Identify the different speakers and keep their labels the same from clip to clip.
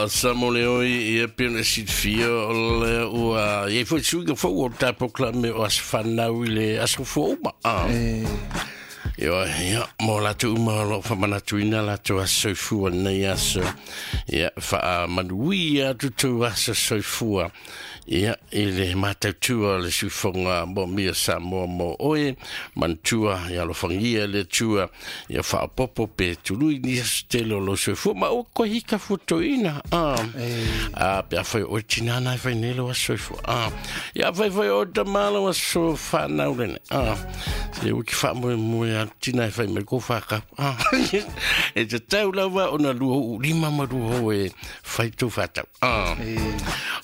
Speaker 1: Samo le oi ia pe ona silafia o le ua i ai foi suiga fou o le tatou polokalame o aso fanau i le aso fua uma. Ia, ia, mo latou uma o lo o faamanatuina latou aso soifua lenei aso. Ia, faamanuia atu tou aso soifua. Ia, i le matautua o le siufofoga moomia Samoa mo oe, manatua, ia alofagia le Atua, ia faaopoopo pe tului ni aso tele o lou soifua, ma ua koe hika fuatoina. Ah, pe afai o oe tina na e fai nei lau aso soifua. Ah, ia afai foi o oe tama lau aso fanau lene. Ah, se ua ki faamoemoe a tina e fai mai ko whakap. Ah, e te tau lava ona lua uu lima ma lua ho e fai tau whatau. Ah.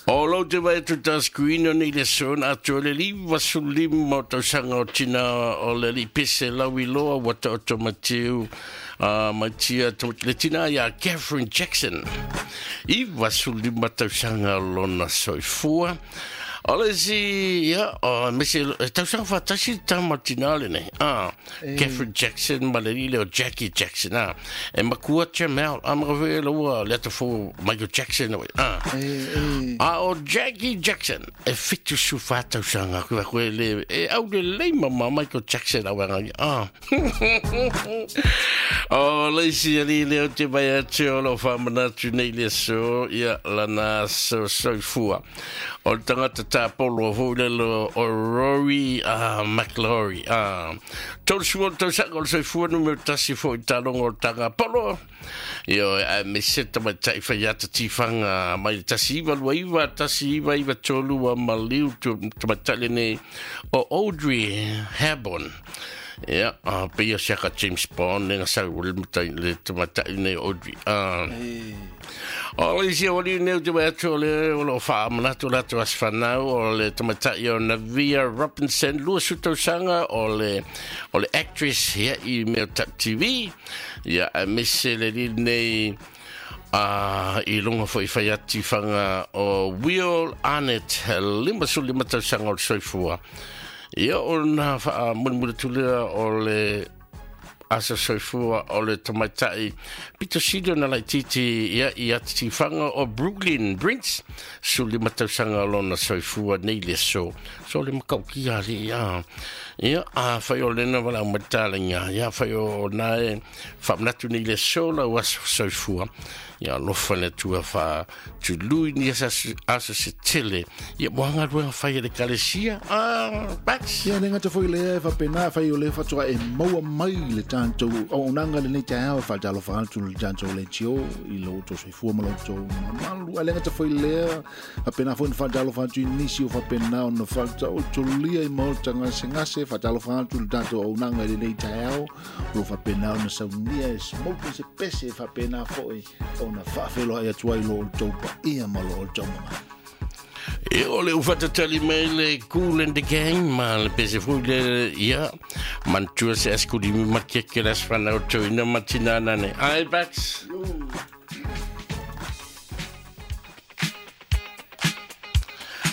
Speaker 1: O lou te vai atu ta screen o nei le sona atu o le 95 o tausaga o tina o le li pese lau i loa ua ta oto matiu mai tia le tina ia Catherine Jackson. 95 tausaga lona soifua. O le isi, ia, o mese, e tausaga whātasi tama tina le nei. Ah, Catherine Jackson ma le lile o Jackie Jackson. Ah, e makua Jamal. Ah, maka fwe laua le atafo Michael Jackson. Ah, ah o Jackie Jackson. E fitu su whātausaga. Koe koe le, e au le leima ma Michael Jackson au anga. Ah. O le isi ali le o te vai atu o lo whamanatu nei le so, ia lana so soifua. O le tangata tāpolo foi le lo o Rory McLaury. 30 tausaga o le soifua numero tasi foi talogo o le tanga polo. Io a me se tamaitai whai ata tiwhanga mai le 1929, 1993 a maliu tu tamaitai lenei o Audrey Hepburn. Ia, pe ia siaka James Bond, lenga sau le matai le tamaitai nei Audrey. O le isi o li nei o te wai atu o le o lo wha manatu lato as whanau o le tamaitai o Navia Robinson, 20 tausaga o le actress ia i mea tap TV. Ia, a mese le li nei i lunga foi whai ati whanga o Will Arnett, 55 tausaga o le soifua. Ia o na wha mulimuli tulea o le asa soifua o le tamaitai pito sili ona laititi ia i ati whanga o Brooklyn Brinks, 15 tausaga lona soifua nei le so. So le makau ki a le ia. Ia, a whai o lena wala matala ia whai o nae whamanatu nei le so la o aso soifua. Ia lofa le tua wha tului ni asa asa se tele. Ia moanga ruanga whai e le kalesia. Ah, Bax.
Speaker 2: Ia le gata foi lea e faapena fai o le fatoa e maua mai le tatou auaunaga lenei taeao e faatalofa atu le tatou leitio i lo outou soifua ma lo outou mamalu. Ae le gata foi lea faapena foi na faatalofa atu i nisi o faapena ona faataotolia i maota gasegase faatalofa atu le tatou auaunaga i lenei taeao o lo faapena ona saunia e smoke se pese e faapena foi ona faafeloai atu ai lo outou paia ma lo outou mamalu.
Speaker 1: E o le ufatatali mai le Kool and the Gang ma le pese foi le ia mantua se askuli mi makeke las whanau tau ina matina nane. Ai, Bax.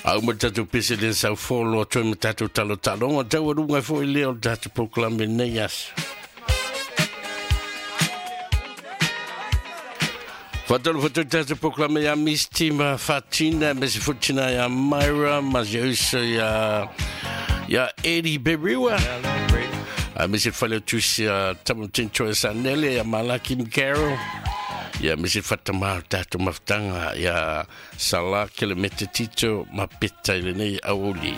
Speaker 1: Au ma tatou pese le sau folo toi ma tatou talo talonga tau arunga foi le o tatou proclame nei aso. Whatalo whatu tatou proclame ia Misty ma Fatina, me se futina ia Myra, ma se uso ia Eddie Beriwa. A me se whale tusi a Tamutin Choe Sanele, ia Malaki Mkaro. Ia me se whatama tatou mafutanga, ia Salah Kelemete Tito, ma peta i lenei auli.